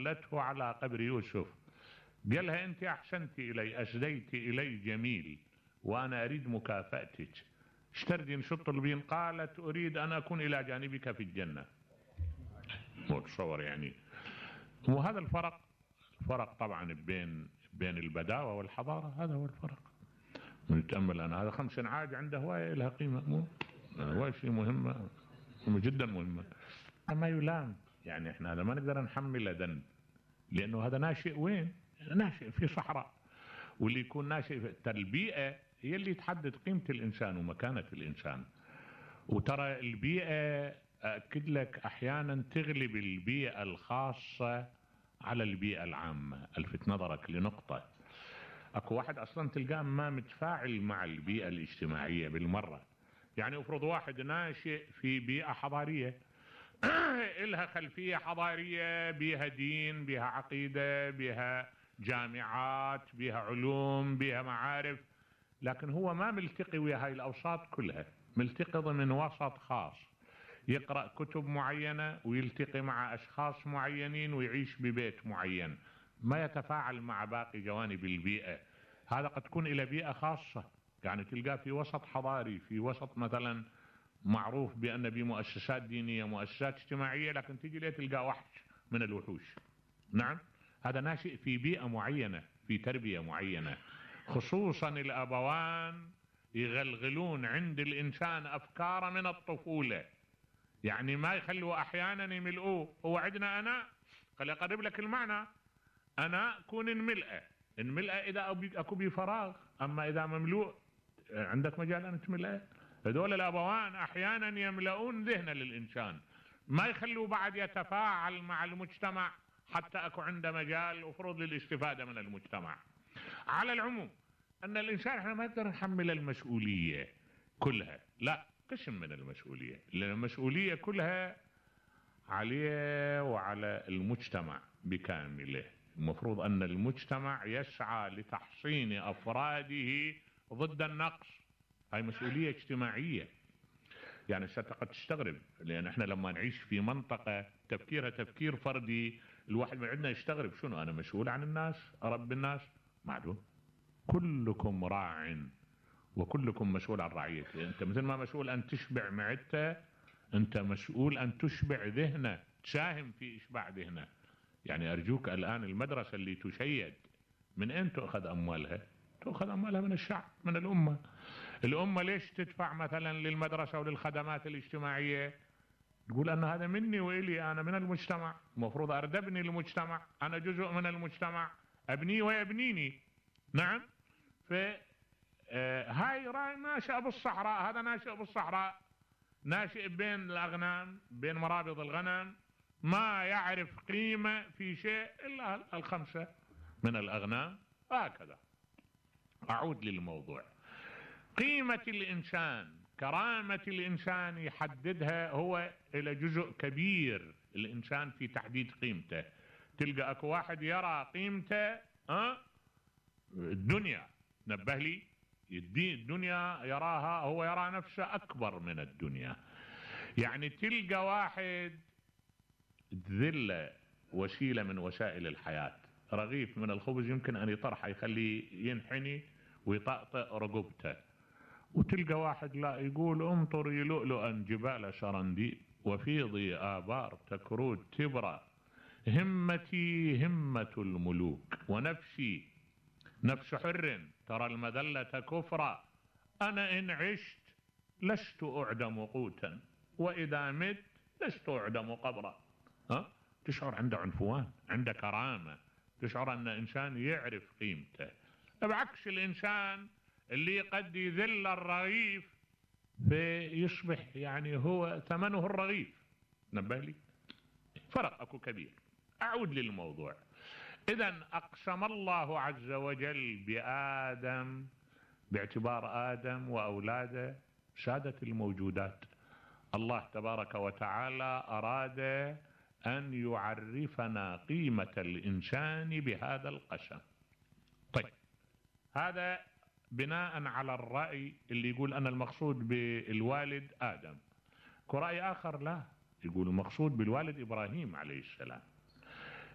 دلته على قبر يوسف، قالها انت احسنت الي، اسديت الي جميل، وانا اريد مكافأتك، ايش تردين شو تطلبين؟ قالت اريد ان اكون الى جانبك في الجنة. متصور يعني. وهذا الفرق طبعا بين البداوة والحضارة، هذا هو الفرق. نتأمل أنا هذا 5 عاج عنده هواية لها قيمة، هواية شيء مهمة جدا مهمة، ما يلام. يعني احنا هذا ما نقدر نحمله ذنب، لأنه هذا ناشئ وين؟ ناشئ في صحراء، واللي يكون ناشئ في البيئة هي اللي تحدد قيمة الإنسان ومكانة الإنسان. وترى البيئة أكد لك أحيانا تغلب البيئة الخاصة على البيئة العامة. ألفت نظرك لنقطة، اكو واحد اصلا تلقاه ما متفاعل مع البيئة الاجتماعية بالمرة. يعني افرض واحد ناشئ في بيئة حضارية إلها خلفية حضارية، بيها دين، بيها عقيدة، بيها جامعات، بيها علوم، بيها معارف، لكن هو ما ملتقي ويا هاي الأوساط كلها، ملتقي ضمن وسط خاص، يقرأ كتب معينة ويلتقي مع أشخاص معينين ويعيش ببيت معين، ما يتفاعل مع باقي جوانب البيئة. هذا قد تكون إلى بيئة خاصة، يعني تلقاه في وسط حضاري، في وسط مثلا معروف بأن بمؤسسات دينية، مؤسسات اجتماعية، لكن تجي ليه تلقاه وحش من الوحوش. نعم، هذا ناشئ في بيئة معينة، في تربية معينة. خصوصا الأبوان يغلغلون عند الإنسان أفكار من الطفولة، يعني ما يخلوا أحيانا يملؤوه. هو عندنا أنا، خلي أقرب لك المعنى، أنا كون نملأ إذا أكو بي فراغ، أما إذا مملوء عندك مجال أن تملأه. هذول الأبوان أحيانا يملؤون ذهن للإنسان، ما يخلوا بعد يتفاعل مع المجتمع حتى أكو عنده مجال وفرض للاستفادة من المجتمع. على العموم أن الإنسان احنا ما نقدر نحمل المسؤولية كلها، لا، قسم من المسؤولية، لأن المسؤولية كلها عليه وعلى المجتمع بكامله. المفروض أن المجتمع يسعى لتحصين أفراده ضد النقص، هاي مسؤولية اجتماعية. يعني قد تستغرب، لأن احنا لما نعيش في منطقة تفكيرها تفكير فردي، الواحد من عندنا يستغرب، شنو أنا مسؤول عن الناس، أربي الناس؟ معلوم، كلكم راع وكلكم مسؤول عن رعيته. انت مثل ما مسؤول ان تشبع معدته، انت مسؤول ان تشبع ذهنه، تساهم في اشباع ذهنه. يعني ارجوك الان المدرسة اللي تشيد من اين تؤخذ اموالها؟ تؤخذ اموالها من الشعب، من الامة. الامة ليش تدفع مثلا للمدرسة وللخدمات الاجتماعية؟ تقول ان هذا مني والي، انا من المجتمع، المفروض اردبني المجتمع، انا جزء من المجتمع، ابني ويبنيني. نعم. هاي ناشئ بالصحراء، هذا ناشئ بالصحراء، ناشئ بين الأغنام، بين مرابض الغنم، ما يعرف قيمة في شيء إلا 5 من الأغنام. هكذا. أعود للموضوع. قيمة الإنسان، كرامة الإنسان يحددها هو إلى جزء كبير الإنسان في تحديد قيمته. تلقى أكو واحد يرى قيمته الدنيا، نبه لي، الدنيا يراها، هو يرى نفسه أكبر من الدنيا. يعني تلقى واحد ذلة وسيلة من وسائل الحياة، رغيف من الخبز يمكن أن يطرحه يخليه ينحني ويطأطئ رقبته، وتلقى واحد لا، يقول امطري لؤلؤا جبال سرنديب وفيضي آبار تكرود تبرى، همتي همة الملوك ونفسي نفس حر ترى المذلة كفرا، أنا إن عشت لست أعدم قوتا وإذا مت لست أعدم قبرا. تشعر عنده عنفوان، عنده كرامة، تشعر أن إنسان يعرف قيمته، بعكس الإنسان اللي قد يذل الرغيف فيصبح يعني هو ثمنه الرغيف. نبه لي، فرق أكو كبير. أعود للموضوع. إذن أقسم الله عز وجل بآدم باعتبار آدم وأولاده سادة الموجودات. الله تبارك وتعالى أراد أن يعرفنا قيمة الإنسان بهذا القسم. طيب، هذا بناء على الرأي اللي يقول أن المقصود بالوالد آدم. ورأي آخر لا، يقول المقصود بالوالد إبراهيم عليه السلام.